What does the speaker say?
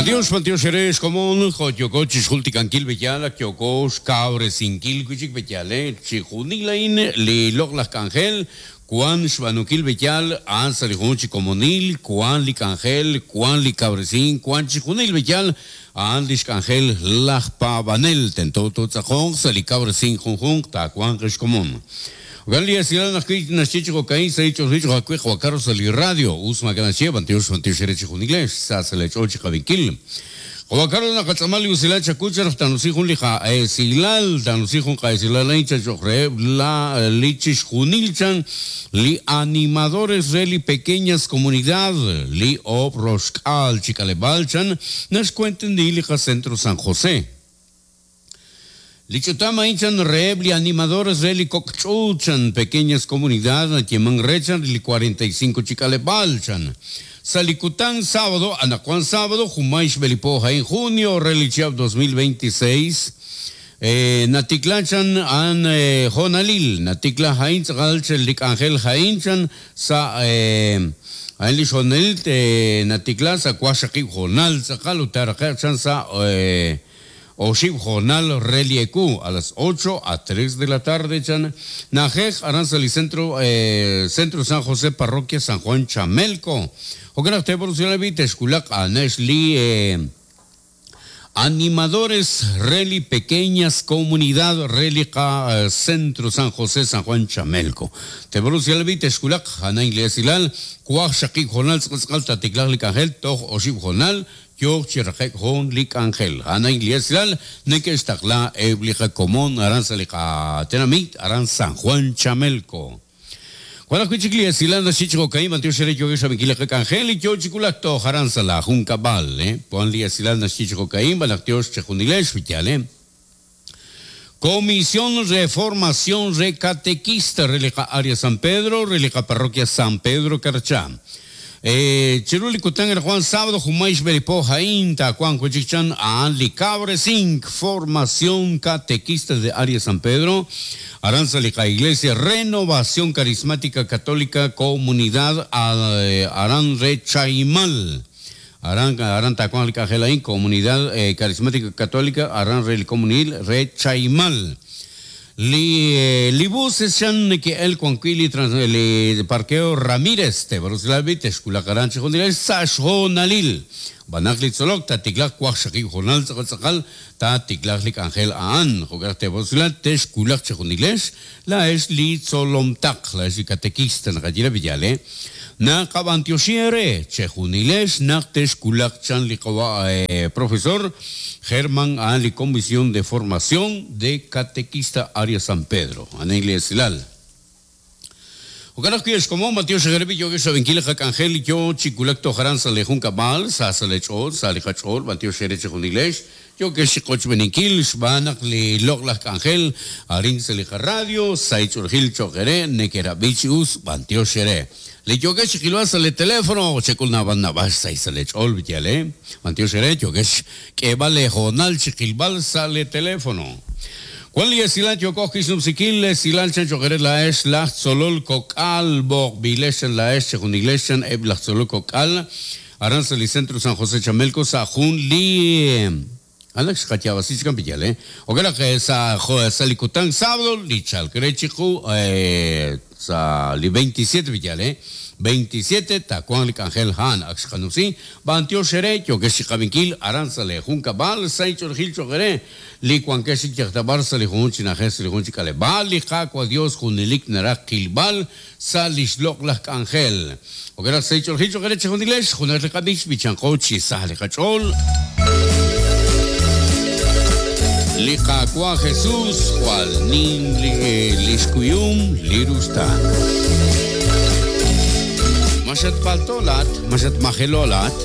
B'antiox, b'antiox eere xkomon, jo' yooko chixjultikankil b'eyal ak yooko xkawresinkil wi' chik b'eyal chixjunil a'in li loq'laj k'anjel wan xb'aanunkil b'eyal a'an sa' li jun chi komonil, wan li k'anjel, wan li kawresink, wan chixjunil b'eyal a'an lix k'anjel laj paab'anel tento tootz'aqonq sa' li kawresink junjunq taawanq xkomon. Jo'kan li esilal ajwi' naxye chi jo'ka'in sa' li ch'oolil cho'q ajwi' Juan Carlos sa' li radio. Us maak'a' naxye, b'antiox, b'antiox eere chejunilex, sa sa' lee ch'ool chi qab'inkil. Juan Carlos naqatz'aama li usilal chawu chan naq taanusi jun li qa'esilal, taanusi jun qa'esilal a'in chan cho'q reheb' la li chixjunil chan li animadores re li pequeñas comunidad li oob' roxk'aal chi k'aleb'aal chan naxkuentendi li qacentro San José. Li ch'utam a'in chan reheb' li animadores re li kok' ch'uut chan pequeñas comunidad nayeeman re chan li 45 chi k'aleb'aal chan. Sa' li kutan sábado, anaqwan sábado, junmay xb'e li po a'in junio re li chihab' 2026, natikla chan a'an hoonalil, natikla a'in tz'aqal chan li k'anjel a'in chan sa' a'in li xhoonalil natikla sa' waqxaqib' hoonal tz'aqal ut taaraqe'q chan sa' Oxib' hoonal re li ewu, a las ocho a tres de la tarde chan na'ajej aran sa' li Centro Centro San José Parroquia San Juan Chamelco. Jo'kan naq teeb'or usilal b'i' texwulaq a'anex li animadores re li pequeñas comunidad re li qa Centro San José San Juan Chamelco. Teeb'or usilal b'i' texwulaq a'an li esilal waqxaqib' hoonal tz'aqal tz'aqal taatiklaaq li k'anjel toj oxib' hoonal Yook chi raqe'k jun li k'anjel. A'an a'in li esilal neke'xtaqla eb' li qakomon aran sa' li qatenamit aran San Juan Chamelco. Wan ajwi' chik li esilal naxye chi jo'ka'in, B'antiox eere yookex xrab'inkil li qak'anjel li yoo chi wulak toj aran sa' laa junkab'al. Wan li esilal naxye chi jo'ka'in, B'anaq tiox chejunilex, wi yaal. Comisión re Formación re Catequista re li qa-Área San Pedro re li qa-Parroquia San Pedro Carchá. Chiru li kutan anaqwan sábado junmay xb'e li po a'in taawanq wi' chik chan a'an li kawresink Formación Catequista de Área San Pedro aran sa' li qa-Iglesia Renovación Carismática Católica Comunidad aran re Chaimal. Aran aran taawanq li k'anjel a'in, Comunidad Carismática Católica aran re li Komonil re Chaimal. Li li buses chan neke'elk wan wi' li li parqueo Ramírez, Tebarusilabi texwulaq aran chi junilal sa' xhoonalil. B'anaq li tzolok taatiklaq waqxaqib' hoonal tz'aqal tz'aqal taatiklaq li k'anjel a'an. Jo'kan naq Tebarusilal texwulaq chi junilex Laa'ex li tzolomtaq, laa'ex li katekista naqaye re Villal, naqab'antioxi eere chejunilex naq texwulaq chan li qawa' profesor German a'an li Comisión de Formación de Catequista Área San Pedro, a'an li esilal. Jo'kan ajwi' ex komon, b'antiox eere yookex xrab'inkil li qak'anjel li yoo chi wulak toj aran sa' lee junkab'al, sa' sa' lee ch'ool, sa' li qach'ool, b'antiox eere chejunilex. Yookex chi qochb'eeninkil xb'aan naq li loq'laj k'anjel arin sa' li qaradio sahil ch'oolejil cho'q eere nekerab'i chi us b'antiox eere. Li yookex chi qilb'al sa' li telefono chek'ul naab'al naab'al xsahil sa' lee ch'ool yaal e. B'antiox eere yookex xk'eeb'al lee hoonal chi qilb'al sa' lee telefono. Wan li esilal yooko ajwi' xnumsinkil esilal chan cho'q eere laa'ex laj tzolol kok'al b'oqb'ilex chan laa'ex chejunilex chan eb' laj tzolol kok'al Aran sa' li Centro San José Chamelco sa' jun li Alak xqayaab'asi chikan piyal, eh. Jo'kan naq sa' sa' li kutan sábado li chalk re chiqu sa' li 27 piyal, eh. 27 taawanq li k'anjel a'an ak xqanumsi. B'antiox eere yookex chi qab'inkil aran sa' lee junkab'al sa' inch'oolejil cho'q eere li wankex chik yaj ta b'ar sa' li junjunq chi na'ajej sa' li junjunq chi k'aleb'aal. Li Qaawa' Dios junelik naraj qilb'al sa' lix loq'laj k'anjel. Jo'kan naq sa' li ch'oolejil cho'q eere chejunilex, junaq li qab'ich b'ichanqo chi sa li qach'ool. Li Qaawa' Jesus jwal nim lix kuyum li ruxtaan. Ma xatpalto laa'at? Ma xatmajelo laa'at?